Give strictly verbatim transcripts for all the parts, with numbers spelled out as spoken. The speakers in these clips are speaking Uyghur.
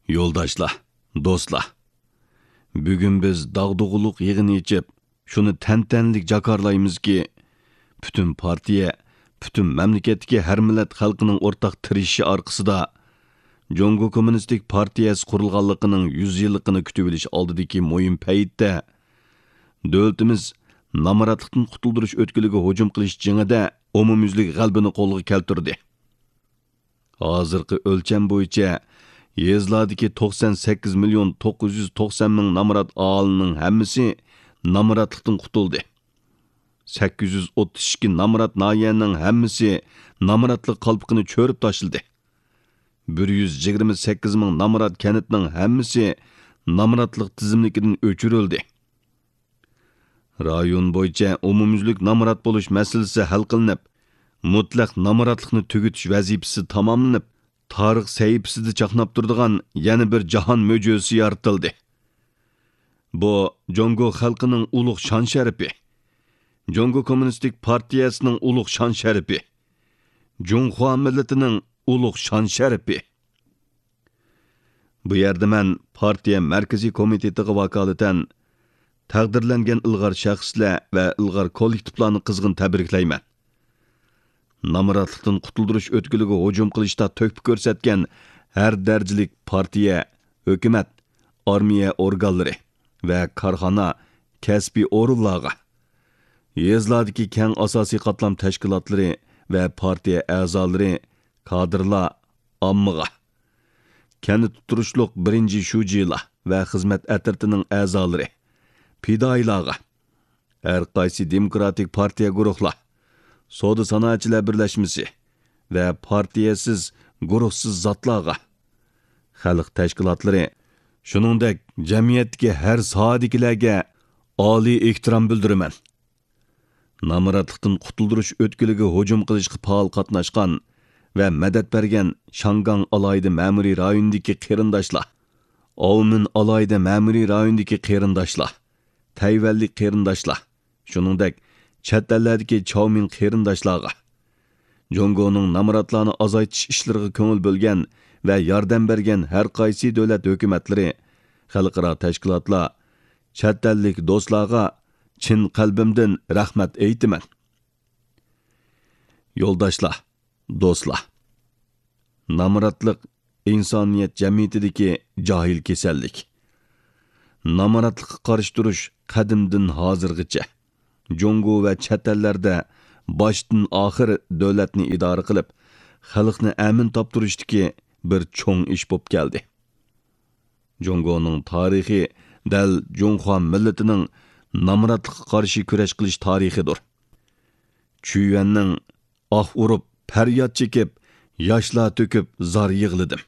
يولداشلار، دوستلار، بۈگۈن بىز داغدۇغىلىق يىغىنى ئېچىپ، شۇنى تەنتەنىلىك جاكارلايمىزكى، پۈتۈن پارتىيە، پۈتۈن مەملىكەتتىكى ھەر مىللەت خەلقىنىڭ ئورتاق تىرىشىشى ئارقىسىدا، جۇڭگو كوممۇنىستىك پارتىيەسى قۇرۇلغانلىقىنىڭ يۈز يىللىقىنى كۈتۈۋېلىش ئالدىدىكى مۇھىم پەيتتە، دۆلىتىمىز نامراتلىقتىن قۇتۇلدۇرۇش ئۆتكىلىگە ھۇجۇم قىلىش جېڭىدە ئومۇميۈزلۈك غەلىبىنى قولغا كەلتۈردى. ھازىرقى ئۆلچەم بويىچە، يېزىلاردىكى توقسان سەككىز مىليون توققۇز يۈز توقسان مىڭ نامرات ئاھالىنىڭ ھەممىسى نامراتلىقتىن قۇتۇلدى. سەككىز يۈز ئوتتۇز ئىككى نامرات ناھىيەنىڭ ھەممىسى نامراتلىق قالپىقىنى چۆرۈپ تاشلىدى. بىر يۈز يىگىرمە سەككىز مىڭ نامرات كەنتنىڭ ھەممىسى نامراتلىق تىزىملىكىدىن ئۆچۈرۈلدى. رايون بويىچە ئومۇميۈزلۈك نامرات بولۇش مەسىلىسى ھەل قىلىنىپ، مۇتلەق نامراتلىقنى تۈگىتىش ۋەزىپىسى تاماملىنىپ، تارىخ سەھىپىسىدە چاقناپ تۇرىدىغان يەنە بىر جاھان مۆجىزىسى يارىتىلدى. بۇ جۇڭگو خەلقىنىڭ ئۇلۇغ شان-شەرىپى، جۇڭگو كوممۇنىستىك پارتىيەسىنىڭ ئۇلۇغ شان-شەرىپى، جۇڭخۇا مىللىتىنىڭ ئۇلۇغ شان-شەرىپى. بۇ يەردە مەن پارتىيە مەركىزىي كومىتېتىغا ۋاكالىتەن تەقدىرلەنگەن ئىلغار شەخسلەر ۋە ئىلغار كوللېكتىپلارنى قىزغىن تەبرىكلەيمەن. نامراتلىقتىن قۇتۇلدۇرۇش ئۆتكىلىگە ھۇجۇم قىلىشتا تۆھپە كۆرسەتكەن ھەر دەرىجىلىك پارتىيە، ھۆكۈمەت، ئارمىيە ئورگانلىرى ۋە كارخانا، كەسپىي ئورۇنلارغا، يېزىلاردىكى كەڭ ئاساسىي قاتلام تەشكىلاتلىرى ۋە پارتىيە ئەزالىرى، كادىرلار، ئاممىغا، كەنتتە تۇرۇشلۇق بىرىنچى شۇجىلار ۋە خىزمەت ئەترىتىنىڭ ئەزالىرى، پىدائىيلارغا، ھەر قايسى دېموكراتىك پارتىيە گۇرۇھلار، سودا سانائەتچىلەر بىرلەشمىسى ۋە پارتىيەسىز، گۇرۇھسىز زاتلارغا، خەلق تەشكىلاتلىرى، شۇنىڭدەك جەمئىيەتتىكى ھەر ساھەدىكىلەرگە ئالىي ئېھتىرام بىلدۈرىمەن. نامراتلىقتىن قۇتۇلدۇرۇش ئۆتكىلىگە ھۇجۇم قىلىشقا پائال قاتناشقان ۋە مەدەت بەرگەن شاڭگاڭ ئالاھىدە مەمۇرىي رايونىدىكى قېرىنداشلار، ئاۋمېن ئالاھىدە مەمۇرىي رايونىدىكى قېرىنداشلار، تەيۋەنلىك قېرىنداشلار، شۇنىڭدەك چەت ئەللەردىكى چاۋمىن قېرىنداشلارغا، جۇڭگونىڭ نامراتلارنى ئازايتىش ئىشلىرىغا كۆڭۈل بۆلگەن ۋە ياردەم بەرگەن ھەر قايسى دۆلەت ھۆكۈمەتلىرى، خەلقئارا تەشكىلاتلار، چەت ئەللىك دوستلارغا چىن قەلبىمدىن رەھمەت ئېيتىمەن. يولداشلار، دوستلار! نامراتلىق ئىنسانىيەت جەمئىيىتىدىكى جاھىل كېسەللىك. نامراتلىققا قارشى تۇرۇش قەدىمدىن ھازىرغىچە جۇڭگو ۋە چەت ئەللەردە باشتىن ئاخىر دۆلەتنى ئىدارە قىلىپ، خەلقنى ئەمىن تاپتۇرۇشتىكى بىر چوڭ ئىش بولۇپ كەلدى. جۇڭگونىڭ تارىخى دەل جۇڭخۇا مىللىتىنىڭ نامراتلىققا قارشى كۈرەش قىلىش تارىخىدۇر. چۈيۈەننىڭ ئاھ ئۇرۇپ، پەرياد چېكىپ، ياشلار تۆكۈپ زار يىغلىدىم.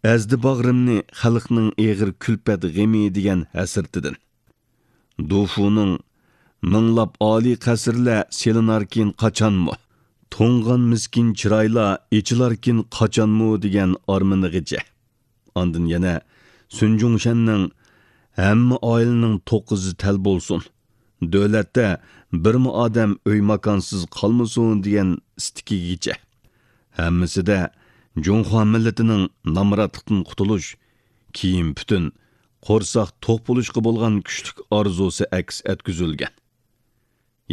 ئەزدى باغرىمنى خەلقنىڭ ئېغىر كۈلپەت غېمى دېگەن ھەسرىتىدىن. دۇفۇنىڭ مىڭلاپ ئالىي قەسىرلەر سېلىناركىن قاچانمۇ، توڭغان مىسكىن چىرايلار ئېچىلاركىن قاچانمۇ دېگەن ئارمىنىغىچە. ئاندىن يەنە سۈن جۇڭشەننىڭ «ھەممە ئائىلىنىڭ توققۇزى تەل بولسۇن، دۆلەتتە بىرمۇ ئادەم ئۆي-ماكانسىز قالمىسۇن» دېگەن ئىستىكىگىچە. ھەممىسىدە جۇڭخۇا مىللىتىنىڭ نامراتلىقتىن قۇتۇلۇش، كىيىم-پۈتۈن، قورساق توق بولۇشقا بولغان كۈچلۈك ئارزۇسى ئەكس ئەتكۈزۈلگەن.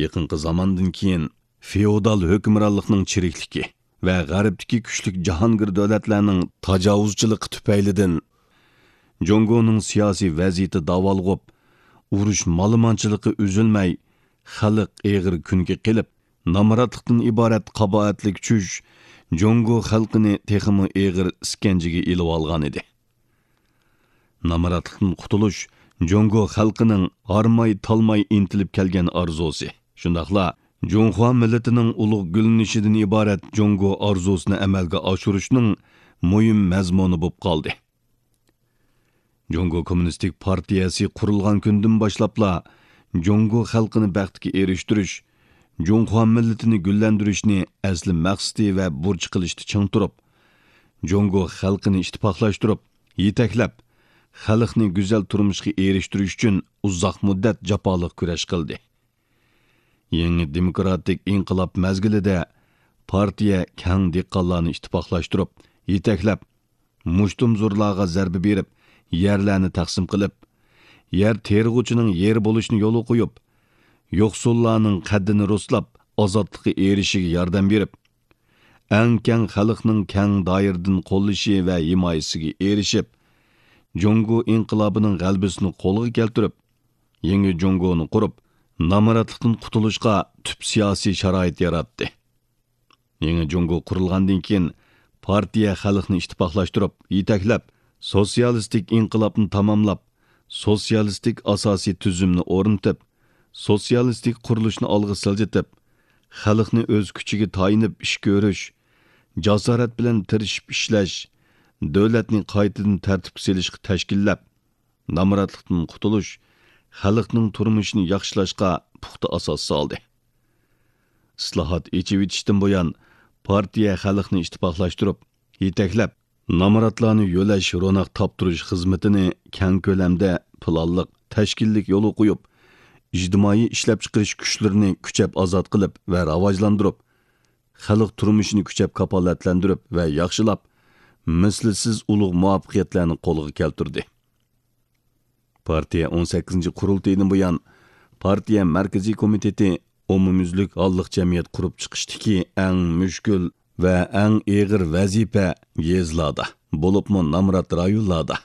يېقىنقى زاماندىن كېيىن فېئودال ھۆكۈمرانلىقنىڭ چىرىكلىكى ۋە غەربتىكى كۈچلۈك جاھانگىر دۆلەتلەرنىڭ تاجاۋۇزچىلىقى تۈپەيلىدىن جۇڭگونىڭ سىياسىي ۋەزىيىتى داۋالغۇپ، ئۇرۇش مالىمانچىلىقى ئۈزۈلمەي، خەلق ئېغىر كۈنگە قېلىپ، نامراتلىقتىن ئىبارەت قاباھەتلىك چۈش جۇڭگو خەلقىنى تېخىمۇ ئېغىر ئىسكەنجىگە ئېلىۋالغانىدى. نامراتلىقتىن قۇتۇلۇش جۇڭگو خەلقىنىڭ ھارماي-تالماي ئىنتىلىپ كەلگەن ئارزۇسى، شۇنداقلا جۇڭخۇا مىللىتىنىڭ ئۇلۇغ گۈللىنىشىدىن ئىبارەت جۇڭگو ئارزۇسىنى ئەمەلگە ئاشۇرۇشنىڭ مۇھىم مەزمۇنى بولۇپ قالدى. جۇڭگو كوممۇنىستىك پارتىيەسى قۇرۇلغان كۈندىن باشلاپلا جۇڭگو خەلقىنى بەختكە ئېرىشتۈرۈش، جۇڭخۇا مىللىتىنى گۈللەندۈرۈشنى ئەسلى مەقسىتى ۋە بۇرچى قىلىشتا چىڭ تۇرۇپ، جۇڭگو خەلقىنى ئىتتىپاقلاشتۇرۇپ، يېتەكلەپ، خەلقنى گۈزەل تۇرمۇشقا ئېرىشتۈرۈش ئۈچۈن ئۇزاق مۇددەت جاپالىق كۈرەش قىلدى. يېڭى دېموكراتىك ئىنقىلاب مەزگىلىدە پارتىيە كەڭ دېھقانلارنى ئىتتىپاقلاشتۇرۇپ، يېتەكلەپ، مۇشتۇمزورلارغا زەربە بېرىپ، يەرلەرنى تەقسىم قىلىپ، يەر تېرىغۇچىنىڭ يېرى بولۇشنى يولغا قويۇپ، يوقسۇللارنىڭ قەددىنى رۇسلاپ، ئازادلىققا ئېرىشىشىگە ياردەم بېرىپ، ئەڭ كەڭ خەلقنىڭ كەڭ دائىرىدىن قوللىشى ۋە ھىمايىسىگە ئېرىشىپ، جۇڭگو ئىنقىلابىنىڭ غەلىبىسىنى قولغا كەلتۈرۈپ، يېڭى جۇڭگونى قۇرۇپ، نامراتلىقتىن قۇتۇلۇشقا تۈپ سىياسىي شارائىت ياراتتى. يېڭى جۇڭگو قۇرۇلغاندىن كېيىن، پارتىيە خەلقنى ئىتتىپاقلاشتۇرۇپ، يېتەكلەپ، سوتسىيالىستىك ئىنقىلابنى تاماملاپ، سوتسىيالىستىك ئاساسىي تۈزۈمنى ئورنىتىپ، سوتسىيالىستىك قۇرۇلۇشنى ئالغا سىلجىتىپ، خەلقنى ئۆز كۈچىگە تايىنىپ ئىش كۆرۈش، جاسارەت بىلەن تىرىشىپ ئىشلەش، دۆلەتنى قايتىدىن تەرتىپكە سېلىشقا تەشكىللەپ، نامراتلىقتىن قۇتۇلۇش، خەلقنىڭ تۇرمۇشىنى ياخشىلاشقا پۇختا ئاساس سالدى. ئىسلاھات، ئېچىۋېتىشتىن بۇيان، پارتىيە خەلقنى ئىتتىپاقلاشتۇرۇپ، يېتەكلەپ، نامراتلارنى يۆلەش، روناق تاپتۇرۇش خىزمىتىنى كەڭ كۆلەمدە، پىلانلىق، تەشكىللىك يولغا قويۇپ، ئىجتىمائىي ئىشلەپچىقىرىش كۈچلىرىنى كۈچەپ ئازاد قىلىپ ۋە راۋاجلاندۇرۇپ، خەلق تۇرمۇشىنى كۈچەپ كاپالەتلەندۈرۈپ ۋە ياخشىلاپ، مىسلىسىز ئۇلۇغ مۇۋەپپەقىيەتلەرنى قولغا كەلتۈردى. پارتىيە ئون سەككىزىنچى قۇرۇلتىيىدىن بۇيان، پارتىيە مەركىزىي كومىتېتى ئومۇميۈزلۈك ھاللىق جەمئىيەت قۇرۇپ چىقىشتىكى ئەڭ مۈشكۈل ۋە ئەڭ ئېغىر ۋەزىپە يېزىلاردا، بولۇپمۇ نامرات رايونلاردا.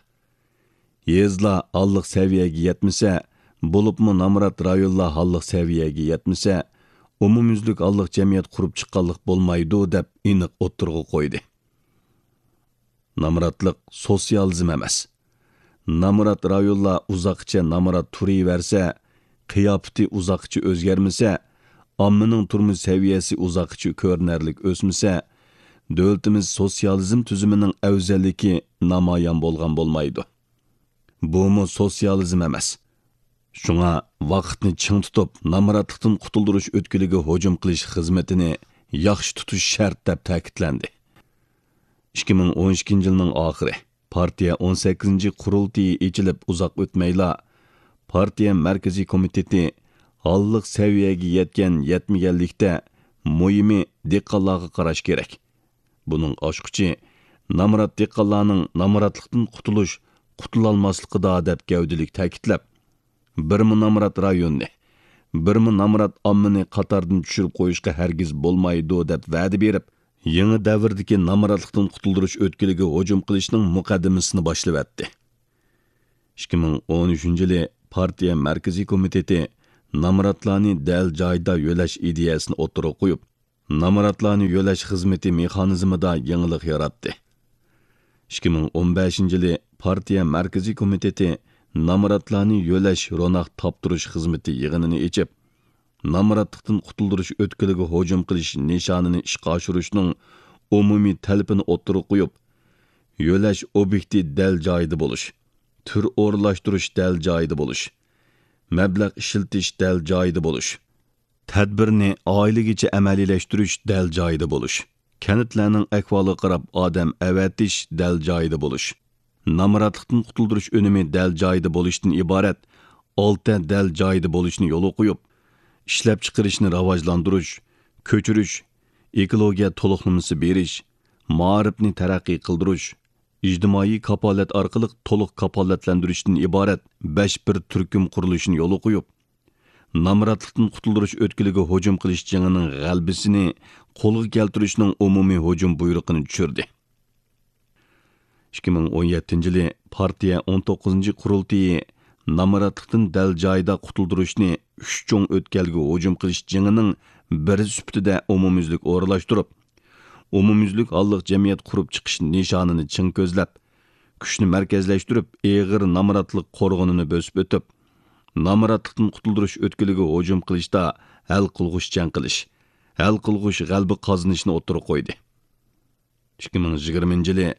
يېزىلار ھاللىق سەۋىيەگە يەتمىسە، بولۇپمۇ نامرات رايونلار ھاللىق سەۋىيەگە يەتمىسە، ئومۇميۈزلۈك ھاللىق جەمئىيەت قۇرۇپ چىققانلىق بولمايدۇ، دەپ ئېنىق ئوتتۇرىغا قويدى. نامراتلىق سوتسىيالىزم ئەمەس. نامرات رايونلار ئۇزاققىچە نامرات تۇرۇۋەرسە، قىياپىتى ئۇزاققىچە ئۆزگەرمىسە، ئاممىنىڭ تۇرمۇش سەۋىيەسى ئۇزاققىچە كۆرۈنەرلىك ئۆسمىسە، دۆلىتىمىز سوتسىيالىزم تۈزۈمىنىڭ ئەۋزەللىكى نامايان بولغان بولمايدۇ. بۇمۇ سوتسىيالىزم ئەمەس. شۇڭا ۋاقىتنى چىڭ تۇتۇپ، نامراتلىقتىن قۇتۇلدۇرۇش ئۆتكىلىگە ھۇجۇم قىلىش خىزمىتىنى ياخشى تۇتۇش شەرت، دەپ تەكىتلەندى. ئىككى مىڭ ئون ئىككىنچى يىلنىڭ ئاخىرى، پارتىيە ئون سەككىزىنچى قۇرۇلتىيى ئېچىلىپ ئۇزاق ئۆتمەيلا، پارتىيە مەركىزىي كومىتېتى ھاللىق سەۋىيەگە يەتكەن يەتمىگەنلىكتە، مۇھىمى دېھقانلارغا قاراش كېرەك. بۇنىڭ ئاچقۇچى نامرات دېھقانلارنىڭ نامراتلىقتىن قۇتۇلۇش، قۇتۇلالماسلىقىدا، دەپ گەۋدىلىك تەكىتلەپ، بىرمۇ نامرات رايوننى، بىرمۇ نامرات ئاممىنى قاتاردىن چۈشۈرۈپ قويۇشقا ھەرگىز بولمايدۇ، دەپ ۋەدە بېرىپ، يېڭى دەۋردىكى نامراتلىقتىن قۇتۇلدۇرۇش ئۆتكىلىگە ھۇجۇم قىلىشنىڭ مۇقەددىمىسىنى باشلىۋەتتى. ئىككى مىڭ ئون ئۈچىنچى يىلى پارتىيە مەركىزىي كومىتېتى نامراتلارنى دەل جايىدا يۆلەش ئىدىيەسىنى ئوتتۇرىغا قويۇپ، نامراتلارنى يۆلەش خىزمىتى مېخانىزمىدا يېڭىلىق ياراتتى. ئىككى مىڭ ئون بەشىنچى يىلى پارتىيە مەركىزىي كومىتېتى نامراتلارنى يۆلەش، روناق تاپتۇرۇش خىزمىتى يىغىنىنى ئېچىپ، نامراتلىقتىن قۇتۇلدۇرۇش ئۆتكىلىگە ھۇجۇم قىلىش نىشانىنى ئىشقا ئاشۇرۇشنىڭ ئومۇمىي تەلىپىنى ئوتتۇرىغا قويۇپ، يۆلەش ئوبيېكتى دەل جايىدا بولۇش، تۈر ئورۇنلاشتۇرۇش دەل جايىدا بولۇش، مەبلەغ ئىشلىتىش دەل جايىدا بولۇش، تەدبىرنى ئائىلىگىچە ئەمەلىيلەشتۈرۈش دەل جايىدا بولۇش، كەنتلەرنىڭ ئەھۋالىغا قاراپ ئادەم ئەۋەتىش دەل جايىدا بولۇش، نامراتلىقتىن قۇتۇلدۇرۇش ئۈنۈمى دەل جايىدا بولۇشتىن ئىبارەت ئالتە دەل جايىدا بولۇشنى يولغا قويۇپ، ئىشلەپچىقىرىشنى راۋاجلاندۇرۇش، كۆچۈرۈش، ئېكولوگىيە تولۇقلىمىسى بېرىش، مائارىپنى تەرەققىي قىلدۇرۇش، ئىجتىمائىي كاپالەت ئارقىلىق تولۇق كاپالەتلەندۈرۈشتىن ئىبارەت بەش بىر تۈركۈم قۇرۇلۇشىنى يولغا قويۇپ، نامراتلىقتىن قۇتۇلدۇرۇش ئۆتكىلىگە ھۇجۇم قىلىش جېڭىنىڭ غەلىبىسىنى قولغا كەلتۈرۈشنىڭ ئومۇمىي ھۇجۇم بۇيرۇقىنى چۈشۈردى. ئىككى مىڭ ئون يەتتىنچى يىلى پارتىيە ئون توققۇزىنچى قۇرۇلتىيى نامراتلىقتىن دەل جايىدا قۇتۇلدۇرۇشنى ئۈچ چوڭ ئۆتكەلگە ھۇجۇم قىلىش جېڭىنىڭ بىرى سۈپىتىدە ئومۇميۈزلۈك ئورۇنلاشتۇرۇپ، ئومۇميۈزلۈك ھاللىق جەمئىيەت قۇرۇپ چىقىش نىشانىنى چىڭ كۆزلەپ، كۈچنى مەركەزلەشتۈرۈپ، ئېغىر نامراتلىق قورغىنىنى بۆسۈپ ئۆتۈپ، نامراتلىقتىن قۇتۇلدۇرۇش ئۆتكىلىگە ھۇجۇم قىلىشتا ھەل قىلغۇچ جەڭ قىلىش، ھەل قىلغۇچ غەلىبە قازىنىشنى ئوتتۇرىغا قويدى. ئىككى مىڭ يىگىرمىنچى يىلى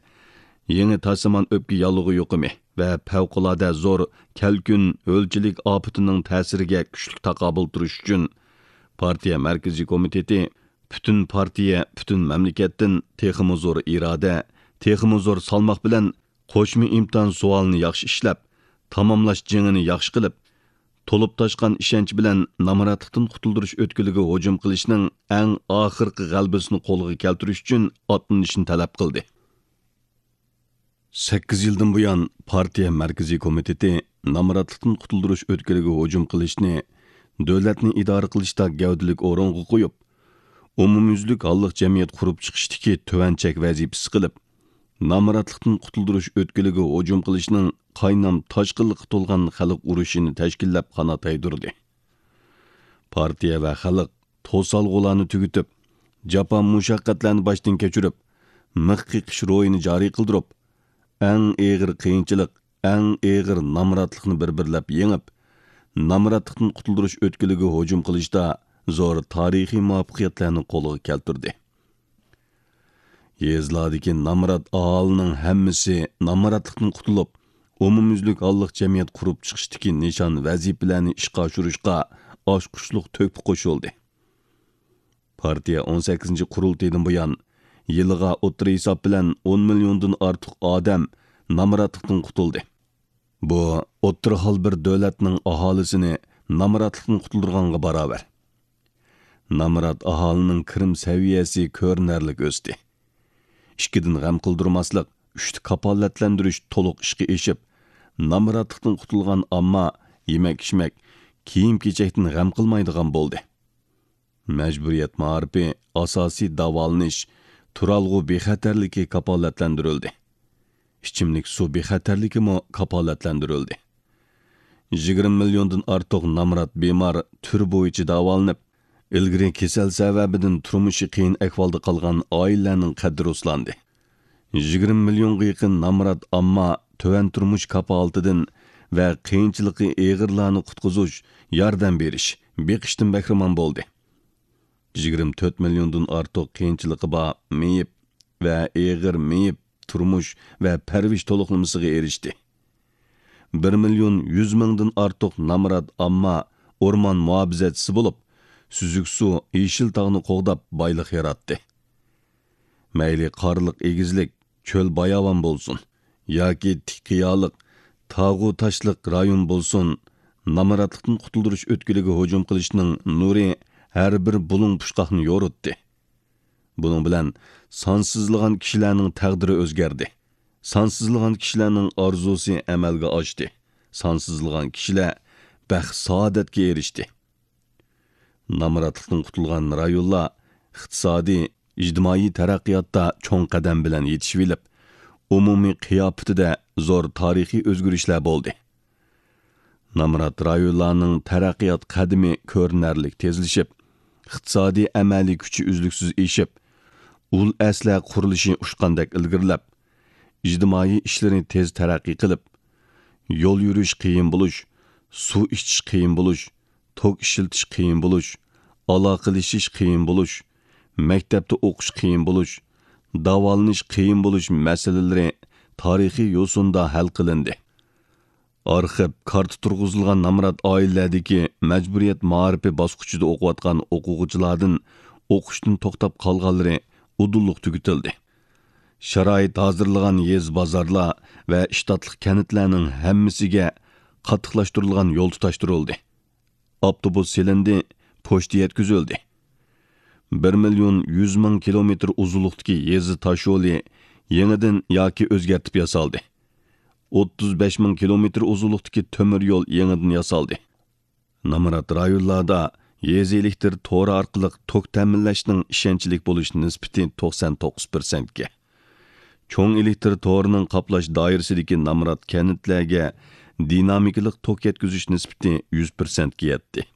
يېڭى تاشلامان ئۆپكە ياللۇغى يۇقۇمى ۋە پەۋقۇلئاددە زور كەلكۈن ھۆلچىلىك ئاپىتىنىڭ تەسىرىگە كۈچلۈك تاقابىل تۇرۇش ئۈچۈن، پارتىيە مەركىزىي كومىتېتى پۈتۈن پارتىيە، پۈتۈن مەملىكەتتىن تېخىمۇ زور ئىرادە، تېخىمۇ زور سالماق بىلەن قوشما ئىمتىھان سوئالىنى ياخشى ئىشلەپ، تاماملاش جېڭىنى ياخشى قىلىپ، تولۇپ تاشقان ئىشەنچ بىلەن نامراتلىقتىن قۇتۇلدۇرۇش ئۆتكىلىگە ھۇجۇم قىلىشنىڭ ئەڭ ئاخىرقى غەلىبىسىنى قولغا كەلتۈرۈش ئۈچۈن ئاتلىنىشنى تەلەپ قىلدى. سەككىز يىلدىن بۇيان، پارتىيە مەركىزىي كومىتېتى نامراتلىقتىن قۇتۇلدۇرۇش ئۆتكىلىگە ھۇجۇم قىلىشنى دۆلەتنى ئىدارە قىلىشتا گەۋدىلىك ئورۇنغا قويۇپ، ئومۇميۈزلۈك ھاللىق جەمئىيەت قۇرۇپ چىقىشتىكى تۆۋەن چەك ۋەزىپىسى قىلىپ، نامراتلىقتىن قۇتۇلدۇرۇش ئۆتكىلىگە ھۇجۇم قىلىشنىڭ قاينام تاشقىنلىققا تولغان خەلق ئۇرۇشىنى تەشكىللەپ قانات يايدۇردى. پارتىيە ۋە خەلق توسالغۇلارنى تۈگىتىپ، جاپا مۇشەققەتلەرنى باشتىن كەچۈرۈپ، مىخ قېقىش روھىنى جارى قىلدۇرۇپ، ئەڭ ئېغىر قىيىنچىلىق، ئەڭ ئېغىر نامراتلىقنى بىر-بىرلەپ يېڭىپ، نامراتلىقتىن قۇتۇلدۇرۇش ئۆتكىلىگە ھۇجۇم قىلىشتا زور تارىخىي مۇۋەپپەقىيەتلەرنى قولغا كەلتۈردى. يېزىلاردىكى نامرات ئاھالىنىڭ ھەممىسى نامراتلىقتىن قۇتۇلۇپ، ئومۇميۈزلۈك ھاللىق جەمئىيەت قۇرۇپ چىقىشتىكى نىشان ۋەزىپىلەرنى ئىشقا ئاشۇرۇشقا ئاچقۇچلۇق تۆھپە قوشۇلدى. پارتىيە ئون سەككىزىنچى قۇرۇلتىيىدىن بۇيان، يىلىغا ئوتتۇرا ھېساب بىلەن ئون مىليوندىن ئارتۇق ئادەم نامراتلىقتىن قۇتۇلدى. بۇ ئوتتۇرا ھال بىر دۆلەتنىڭ ئاھالىسىنى نامراتلىقتىن قۇتۇلدۇرغانغا باراۋەر. نامرات ئاھالىنىڭ كىرىم سەۋىيەسى كۆرۈنەرلىك ئۆستى. ئىككىدىن غەم قىلدۇرماسلىق، ئۈچتە كاپالەتلەندۈرۈش تولۇق ئىشقا ئېشىپ، نامراتلىقتىن قۇتۇلغان ئامما يېمەك-ئىچمەك، كىيىم-كېچەكتىن غەم قىلمايدىغان بولدى. مەجبۇرىيەت مائارىپى، ئاساسىي داۋالىنىش، تۇرالغۇ بىخەتەرلىكى كاپالەتلەندۈرۈلدى. ئىچىملىك سۇ بىخەتەرلىكىمۇ كاپالەتلەندۈرۈلدى. يىگىرمە مىليوندىن ئارتۇق نامرات بىمار تۈر بويىچە داۋالىنىپ، ئىلگىرى كېسەل سەۋەبىدىن تۇرمۇشى قىيىن ئەھۋالدا قالغان ئائىلىلەرنىڭ قەددى رۇسلاندى. يىگىرمە مىليونغا يېقىن نامرات ئامما تۆۋەن تۇرمۇش كاپالىتىدىن ۋە قىيىنچىلىقى ئېغىرلارنى قۇتقۇزۇش، ياردەم بېرىش، بېقىشتىن بەھرىمەن بولدى. يىگىرمە تۆت مىليوندىن ئارتۇق قىيىنچىلىقى بار مېيىپ ۋە ئېغىر مېيىپ تۇرمۇش ۋە پەرۋىش تولۇقلىمىسىغا ئېرىشتى. بىر مىليون يۈز مىڭدىن ئارتۇق نامرات ئامما ئورمان مۇھاپىزەتچىسى بولۇپ، سۈزۈك سۇ، يېشىل تاغنى قوغداپ بايلىق ياراتتى. مەيلى قارلىق ئېگىزلىك، چۆل باياۋان بولسۇن ياكى تىك قىيالىق، تاغۇ تاشلىق رايون بولسۇن، نامراتلىقتىن قۇتۇلدۇرۇش ئۆتكىلىگە ھۇجۇم قىلىشنىڭ نۇرى ھەر بىر بۇلۇڭ پۇچقاقنى يورۇتتى. بۇنىڭ بىلەن سانسىزلىغان كىشىلەرنىڭ تەقدىرى ئۆزگەردى. سانسىزلىغان كىشىلەرنىڭ ئارزۇسى ئەمەلگە ئاشتى. سانسىزلىغان كىشىلەر بەخت-سائادەتكە ئېرىشتى. نامراتلىقتىن قۇتۇلغان رايونلار ئىقتىسادىي، ئىجتىمائىي تەرەققىياتتا چوڭ قەدەم بىلەن يېتىشىۋېلىپ، ئومۇمىي قىياپىتىدە زور تارىخىي ئۆزگىرىشلەر بولدى. نامرات رايونلارنىڭ تەرەققىيات قەدىمى كۆرۈنەرلىك تېزلىشىپ، ئىقتىسادىي ئەمەلىي كۈچى ئۈزلۈكسىز ئېشىپ، ئۇل ئەسلىھە قۇرۇلۇشى ئۇچقاندەك ئىلگىرىلەپ، ئىجتىمائىي ئىشلىرى تېز تەرەققىي قىلىپ، يول يۈرۈش قىيىن بولۇش، سۇ ئىچىش قىيىن بولۇش، توك ئىشلىتىش قىيىن بولۇش، ئالاقىلىشىش قىيىن بولۇش، مەكتەپتە ئوقۇش قىيىن بولۇش، داۋالىنىش قىيىن بولۇش مەسىلىلىرى تارىخىي يوسۇندا ھەل قىلىندى. ئارخىپ، كارتا تۇرغۇزۇلغان نامرات ئائىلىلەردىكى مەجبۇرىيەت مائارىپى باسقۇچىدا ئوقۇۋاتقان ئوقۇغۇچىلاردىن ئوقۇشتىن توختاپ قالغانلىرى ئۇدۇللۇق تۈگىتىلدى. شارائىت ھازىرلىغان يېزا بازارلار ۋە شتاتلىق كەنتلەرنىڭ ھەممىسىگە قاتتىقلاشتۇرۇلغان يول تۇتاشتۇرۇلدى. ئاپتوبۇس سېلىندى، پوچتا يەتكۈزۈلدى. بىر مىليون يۈز مىڭ كىلومېتىر ئۇزۇنلۇقتىكى يېزا تاشيولى يېڭىدىن ياكى ئۆزگەرتىپ ياسالدى. ئوتتۇز بەش مىڭ كىلومېتىر ئۇزۇنلۇقتىكى تۆمۈر يول يېڭىدىن ياسالدى. نامرات رايونلاردا يېزا ئېلېكتىر تورى ئارقىلىق توك تەمىنلەشنىڭ ئىشەنچلىك بولۇش نىسبىتى توقسان توققۇز پىرسەنتكە، چوڭ ئېلېكتىر تورىنىڭ قاپلاش دائىرىسىدىكى نامرات كەنتلەرگە دىنامىكىلىق توك يەتكۈزۈش نىسبىتى يۈز پىرسەنتكە يەتتى.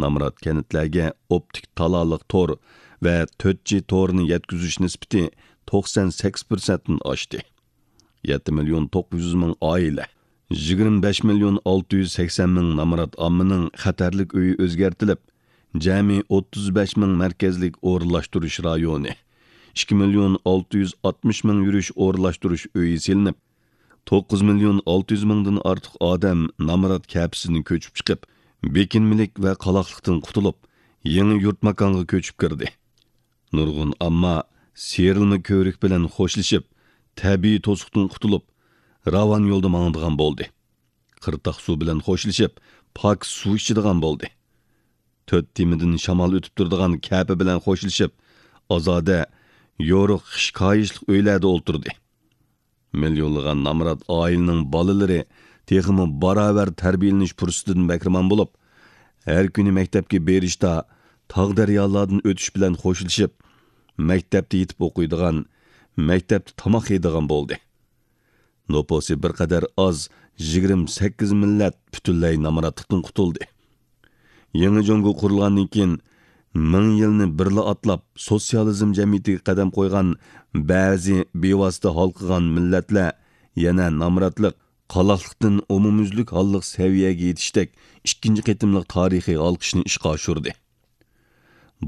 نامرات كەنتلەرگە ئوپتىك تالالىق تور ۋە تۆت جى تورىنى يەتكۈزۈش نىسبىتى توقسان سەككىز پىرسەنتتىن ئاشتى. يەتتە مىليون توققۇز يۈز مىڭ ئائىلە، يىگىرمە بەش مىليون ئالتە يۈز سەكسەن مىڭ نامرات ئاممىنىڭ خەتەرلىك ئۆيى ئۆزگەرتىلىپ، جەمئىي ئوتتۇز بەش مىڭ مەركەزلىك ئورۇنلاشتۇرۇش رايونى، ئىككى مىليون ئالتە يۈز ئاتمىش مىڭ يۈرۈش ئورۇنلاشتۇرۇش ئۆيى سېلىنىپ، توققۇز مىليون ئالتە يۈز مىڭدىن ئارتۇق ئادەم نامرات كەپىسىدىن كۆچۈپ چىقىپ، بېكىنمىلىك ۋە قالاقلىقتىن قۇتۇلۇپ، يېڭى يۇرت ماكانغا كۆچۈپ كىردى. نۇرغۇن ئامما سىيرىلما كۆۋرۈك بىلەن خوشلىشىپ، تەبىئىي توسۇقتىن قۇتۇلۇپ، راۋان يولدا ماڭىدىغان بولدى. قىرتاق سۇ بىلەن خوشلىشىپ، پاك سۇ ئىچىدىغان بولدى. تۆت تېمىدىن شامال ئۆتۈپ تۇرىدىغان كەپە بىلەن خوشلىشىپ، ئازادە، يورۇق خىش كايىشلىق ئۆيلەردە ئولتۇردى. مىليونلىغان نامرات ئائىلىنىڭ بالىلىرى تېخىمۇ باراۋەر تەربىيەلىنىش پۇرسىتىدىن بەھرىمەن بولۇپ، ھەر كۈنى مەكتەپكە بېرىشتا تاغ-دەريالاردىن ئۆتۈش بىلەن خوشلىشىپ، مەكتەپتە يېتىپ ئوقۇيدىغان، مەكتەپتە تاماق يەيدىغان بولدى. نوپۇسى بىر قەدەر ئاز يىگىرمە سەككىز مىللەت پۈتۈنلەي نامراتلىقتىن قۇتۇلدى. يېڭى جۇڭگو قۇرۇلغاندىن كېيىن، مىڭ يىلنى بىرلا ئاتلاپ، سوتسىيالىزم جەمئىيىتىگە قەدەم قويغان بەزى بىۋاسىتە ھالقىغان مىللەتلەر يەنە نامراتلىق، قالاقلىقتىن ئومۇميۈزلۈك ھاللىق سەۋىيەگە يېتىشتەك ئىككىنچى قېتىملىق تارىخىي ھالقىشنى ئىشقا ئاشۇردى.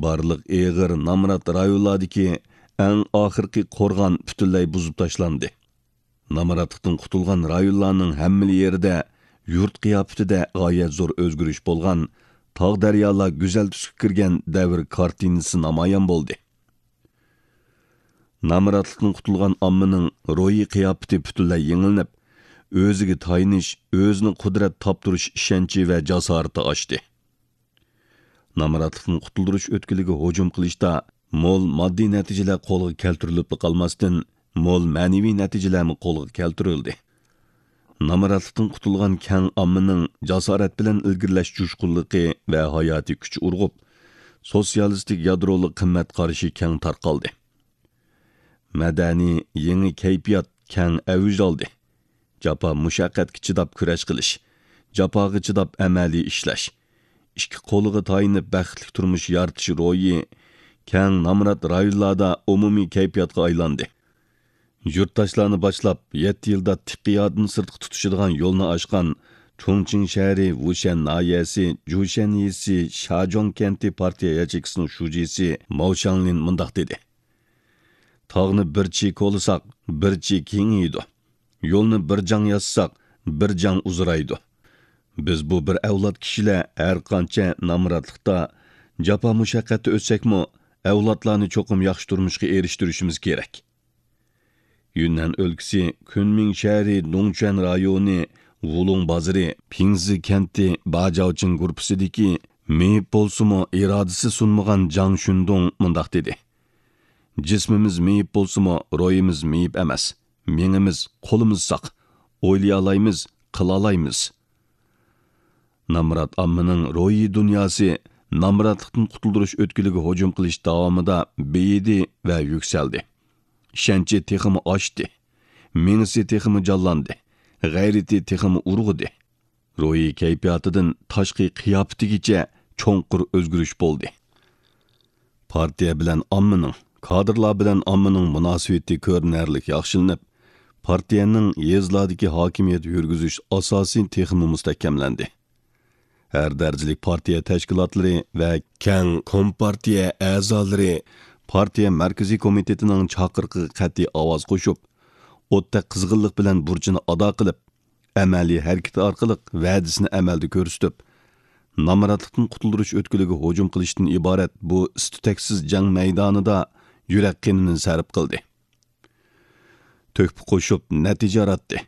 بارلىق ئېغىر نامرات رايونلاردىكى ئەڭ ئاخىرقى قورغان پۈتۈنلەي بۇزۇپ تاشلاندى. نامراتلىقتىن قۇتۇلغان رايونلارنىڭ ھەممىلا يېرىدە يۇرت قىياپىتىدە غايەت زور ئۆزگىرىش بولغان، تاغ-دەريالار گۈزەل تۈسكە كىرگەن دەۋر كارتىنىسى نامايان بولدى. نامراتلىقتىن قۇتۇلغان ئاممىنىڭ روھىي قىياپىتى پۈتۈنلەي يېڭىلىنىپ، ئۆزىگە تايىنىش، ئۆزىنى قۇدرەت تاپتۇرۇش ئىشەنچى ۋە جاسارىتى ئاشتى. نامراتلىقتىن قۇتۇلدۇرۇش ئۆتكىلىگە ھۇجۇم قىلىشتا مول ماددىي نەتىجىلەر قولغا كەلتۈرۈلۈپلا قالماستىن، مول مەنىۋى نەتىجىلەرمۇ قولغا كەلتۈرۈلدى. نامراتلىقتىن قۇتۇلغان كەڭ ئاممىنىڭ جاسارەت بىلەن ئىلگىرىلەش جۇشقۇنلۇقى ۋە ھاياتىي كۈچى ئۇرغۇپ، سوتسىيالىستىك يادرولۇق قىممەت قارىشى كەڭ تارقالدى. مەدەنىي يېڭى كەيپىيات كەڭ ئەۋج ئالدى. جاپا مۇشەققەتكە چىداپ كۈرەش قىلىش، جاپاغا چىداپ ئەمەلىي ئىشلەش، ئىككى قولىغا تايىنىپ بەختلىك تۇرمۇش يارىتىش روھى كەڭ نامرات رايونلاردا ئومۇمىي كەيپىياتقا ئايلاندى. يۇرتداشلارنى باشلاپ، يەتتە يىلدا تىقىيادىن سىرتقا تۇتىشىدىغان يولنى ئاچقان چۇڭچىڭ شەھىرى ۋۇشەن ناھىيەسى جۇشەن يېزىسى شاجوڭ كەنتى پارتىيە ياچېيكىسىنىڭ شۇجىسى ماۋ شاڭلىن مۇنداق دېدى: «تاغنى بىر چېكىۋالساق، بىر چېكى كېڭىيىدۇ. يولنى بىر جاڭ ياسىساق، بىر جاڭ ئۇزىرايدۇ. بىز بۇ بىر ئەۋلاد كىشىلەر ھەر قانچە نامراتلىقتا، جاپا-مۇشەققەتتە ئۆتسەكمۇ، ئەۋلادلارنى چوقۇم ياخشى تۇرمۇشقا ئېرىشتۈرۈشىمىز كېرەك.» يۈننەن ئۆلكىسى كۈنمىڭ شەھىرى دۇڭچۈەن رايونى ۋۇلۇڭ بازىرى پىڭزى كەنتى باجاۋچىڭ گۇرۇپپىسىدىكى مېيىپ بولسىمۇ، ئىرادىسى سۇنمىغان جاڭ شۈندۇڭ مۇنداق دېدى: «جىسمىمىز مېيىپ بولسىمۇ، روھىمىز مېيىپ ئەمەس. مېڭىمىز، قولىمىز ساق. ئويلىيالايمىز، قىلالايمىز.» نامرات ئاممىنىڭ روھىي دۇنياسى نامراتلىقتىن قۇتۇلدۇرۇش ئۆتكىلىگە ھۇجۇم قىلىش داۋامىدا بېيىدى ۋە يۈكسەلدى. ئىشەنچى تېخىمۇ ئاشتى. مېڭىسى تېخىمۇ جانلاندى. غەيرىتى تېخىمۇ ئۇرغۇدى. روھىي كەيپىياتىدىن تاشقى قىياپىتىگىچە چوڭقۇر ئۆزگىرىش بولدى. پارتىيە بىلەن ئاممىنىڭ، كادىرلار بىلەن ئاممىنىڭ مۇناسىۋىتى كۆرۈنەرلىك ياخشىلىنىپ، پارتىيەنىڭ يېزىلاردىكى ھاكىمىيەت يۈرگۈزۈش ئاساسى تېخىمۇ مۇستەھكەملەندى. ھەر دەرىجىلىك پارتىيە تەشكىلاتلىرى ۋە كەڭ كومپارتىيە ئەزالىرى پارتىيە مەركىزىي كومىتېتىنىڭ چاقىرىقىغا قەتئىي ئاۋاز قوشۇپ، ئوتتەك قىزغىنلىق بىلەن بۇرچىنى ئادا قىلىپ، ئەمەلىي ھەرىكىتى ئارقىلىق ۋەدىسىنى ئەمەلدە كۆرسىتىپ، نامراتلىقتىن قۇتۇلدۇرۇش ئۆتكىلىگە ھۇجۇم قىلىشتىن ئىبارەت بۇ ئىس-تۈتەكسىز جەڭ مەيدانىدا يۈرەك قېنىنى سەرپ قىلدى. تۆھپە قوشۇپ نەتىجە ياراتتى.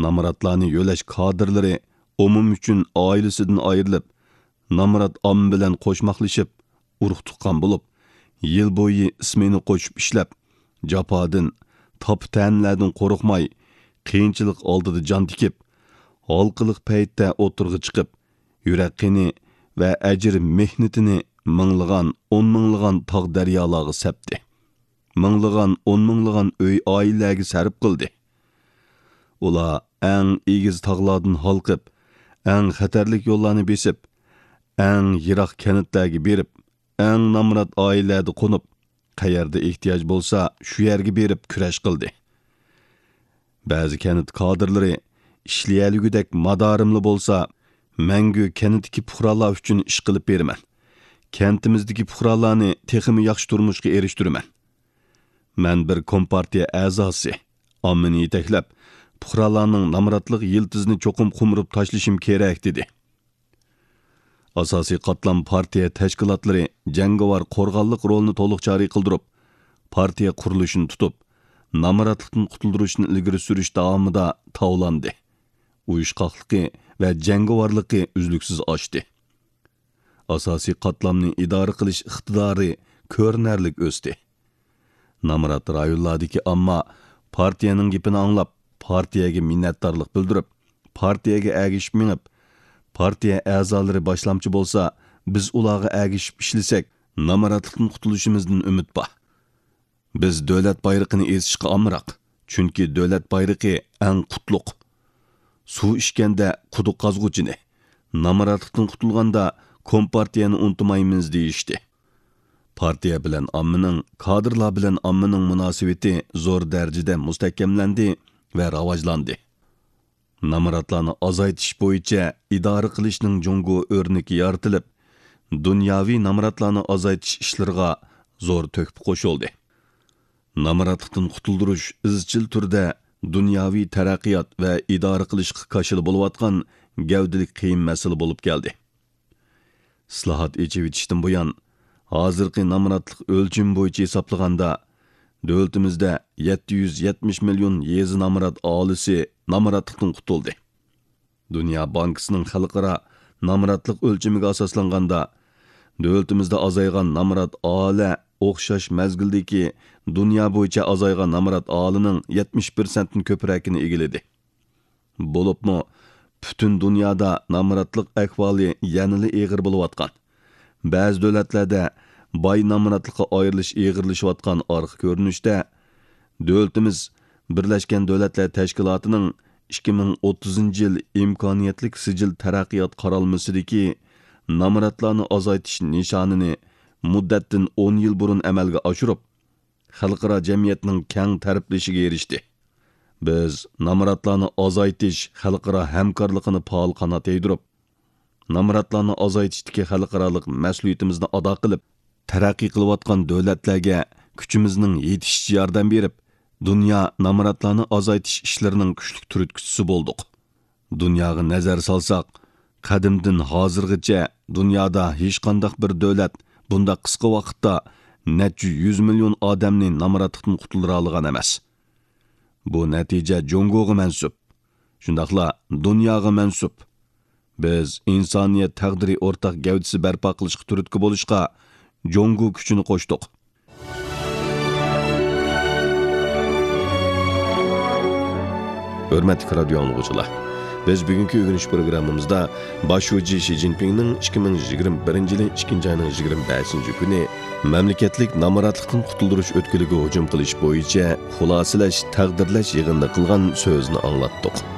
نامراتلارنى يۆلەش كادىرلىرى ئومۇم ئۈچۈن ئائىلىسىدىن ئايرىلىپ، نامرات ئامما بىلەن قوشماقلىشىپ، ئۇرۇق-تۇغقان بولۇپ، يىل بويى ئىسمېنا قوشۇپ ئىشلەپ، جاپادىن، تاپا-تەنىلەردىن قورقماي، قىيىنچىلىق ئالدىدا جان تىكىپ، ھالقىلىق پەيتتە ئوتتۇرىغا چىقىپ، يۈرەك قېنى ۋە ئەجىر مېھنىتىنى مىڭلىغان، ئون مىڭلىغان تاغ-دەريالارغا سەپتى. مىڭلىغان، ئون مىڭلىغان ئۆي-ئائىلىلەرگە سەرپ قىلدى. ئۇلار ئەڭ ئېگىز تاغلاردىن ھالقىپ، ئەڭ خەتەرلىك يوللارنى بېسىپ، ئەڭ يىراق كەنتلەرگە بېرىپ، ئەڭ نامرات ئائىلىلەردە قونۇپ، قەيەردە ئېھتىياج بولسا، شۇ يەرگە بېرىپ كۈرەش قىلدى. بەزى كەنت كادىرلىرى ئىشلىيەلىگۈدەك مادارىملا بولسا، مەڭگۈ كەنتتىكى پۇقرالار ئۈچۈن ئىش قىلىپ بېرىمەن. كەنتىمىزدىكى پۇقرالارنى تېخىمۇ ياخشى تۇرمۇشقا ئېرىشتۈرىمەن. مەن بىر كومپارتىيە ئەزاسى، ئاممىنى يېتەكلەپ، پۇقرالارنىڭ نامراتلىق يىلتىزىنى چوقۇم قومۇرۇپ تاشلىشىم كېرەك، دېدى. ئاساسىي قاتلام پارتىيە تەشكىلاتلىرى جەڭگىۋار قورغانلىق رولىنى تولۇق جارى قىلدۇرۇپ، پارتىيە قۇرۇلۇشىنى تۇتۇپ، نامراتلىقتىن قۇتۇلدۇرۇشنى ئىلگىرى سۈرۈش داۋامىدا تاۋلاندى. ئۇيۇشقاقلىقى ۋە جەڭگىۋارلىقى ئۈزلۈكسىز ئاشتى. ئاساسىي قاتلامنى ئىدارە قىلىش ئىقتىدارى كۆرۈنەرلىك ئۆستى. نامرات رايونلاردىكى ئامما پارتىيەنىڭ گېپىنى ئاڭلاپ، پارتىيەگە مىننەتدارلىق بىلدۈرۈپ، پارتىيەگە ئەگىشىپ مېڭىپ، پارتىيە ئەزالىرى باشلامچى بولسا، بىز ئۇلارغا ئەگىشىپ ئىشلىسەك، نامراتلىقتىن قۇتۇلۇشىمىزدىن ئۈمىد بار. بىز دۆلەت بايرىقىنى ئېسىشقا ئامراق، چۈنكى دۆلەت بايرىقى ئەڭ قۇتلۇق. سۇ ئىچكەندە قۇدۇق قازغۇچىنى، نامراتلىقتىن قۇتۇلغاندا كومپارتىيەنى ئۇنتۇمايمىز دېيىشتى. پارتىيە بىلەن ئاممىنىڭ، كادىرلار بىلەن ئاممىنىڭ مۇناسىۋىتى زور دەرىجىدە مۇستەھكەملەندى ۋە راۋاجلاندى. نامراتلارنى ئازايتىش بويىچە ئىدارە قىلىشنىڭ جۇڭگو ئۆرنىكى يارىتىلىپ، دۇنياۋى نامراتلارنى ئازايتىش ئىشلىرىغا زور تۆھپە قوشۇلدى. نامراتلىقتىن قۇتۇلدۇرۇش ئىزچىل تۈردە دۇنياۋى تەرەققىيات ۋە ئىدارە قىلىشقا كاشىلا بولۇۋاتقان گەۋدىلىك قىيىن مەسىلە بولۇپ كەلدى. ئىسلاھات، ئېچىۋېتىشتىن بۇيان، ھازىرقى نامراتلىق ئۆلچىمى بويىچە ھېسابلىغاندا، دۆلىتىمىزدە يەتتە يۈز يەتمىش مىليون يېزا نامرات ئاھالىسى نامراتلىقتىن قۇتۇلدى. دۇنيا بانكىسىنىڭ خەلقئارا نامراتلىق ئۆلچىمىگە ئاساسلانغاندا، دۆلىتىمىزدە ئازايغان نامرات ئاھالە ئوخشاش مەزگىلدىكى دۇنيا بويىچە ئازايغان نامرات ئاھالىنىڭ يەتمىش پىرسەنتتىن كۆپرەكىنى ئىگىلىدى. بولۇپمۇ پۈتۈن دۇنيادا نامراتلىق ئەھۋالى يەنىلا ئېغىر بولۇۋاتقان، بەزى دۆلەتلەردە باي نامراتلىققا ئايرىلىش ئېغىرلىشىۋاتقان ئارقا كۆرۈنۈشتە، دۆلىتىمىز بىرلەشكەن دۆلەتلەر تەشكىلاتىنىڭ ئىككى مىڭ ئوتتۇزىنچى يىل ئىمكانىيەتلىك سىجىل تەرەققىيات قارالمىسىدىكى نامراتلارنى ئازايتىش نىشانىنى مۇددەتتىن ئون يىل بۇرۇن ئەمەلگە ئاشۇرۇپ، خەلقئارا جەمئىيەتنىڭ كەڭ تەرىپلىشىگە ئېرىشتى. بىز نامراتلارنى ئازايتىش خەلقئارا ھەمكارلىقىنى پائال قانات يايدۇرۇپ، نامراتلارنى ئازايتىشتىكى خەلقئارالىق مەسئۇلىيىتىمىزنى ئادا قىلىپ، تەرەققىي قىلىۋاتقان دۆلەتلەرگە كۈچىمىزنىڭ يېتىشىچە ياردەم بېرىپ، دۇنيا نامراتلارنى ئازايتىش ئىشلىرىنىڭ كۈچلۈك تۈرتكىسىسى بولدۇق. دۇنياغا نەزەر سالساق، قەدىمدىن ھازىرغىچە دۇنيادا ھېچقانداق بىر دۆلەت بۇنداق قىسقا ۋاقىتتا نەچچە يۈز مىليون ئادەمنى نامراتلىقتىن قۇتۇلدۇرالىغان ئەمەس. بۇ نەتىجە جۇڭگوغا مەنسۇپ. شۇنداقلا دۇنياغا مەنسۇپ. بىز ئىنسانىيەت تەقدىرى ئورتاق گەۋدىسى بەرپا قىلىشقا تۈرتكە بولۇشقا جۇڭگو كۈچىنى قوشتۇق. ھۆرمەتلىك رادىيو ئاڭلىغۇچىلار، بىز بۈگۈنكى ئۆگىنىش پروگراممىمىزدا باش شۇجى شى جىنپىڭنىڭ ئىككى مىڭ يىگىرمە بىرىنچى يىلى ئىككىنچى ئاينىڭ يىگىرمە بەشىنچى كۈنى مەملىكەتلىك نامراتلىقتىن قۇتۇلدۇرۇش ئۆتكىلىگە ھۇجۇم قىلىش بويىچە خۇلاسىلەش، تەقدىرلەش يىغىنىدا قىلغان سۆزىنى ئاڭلاتتۇق.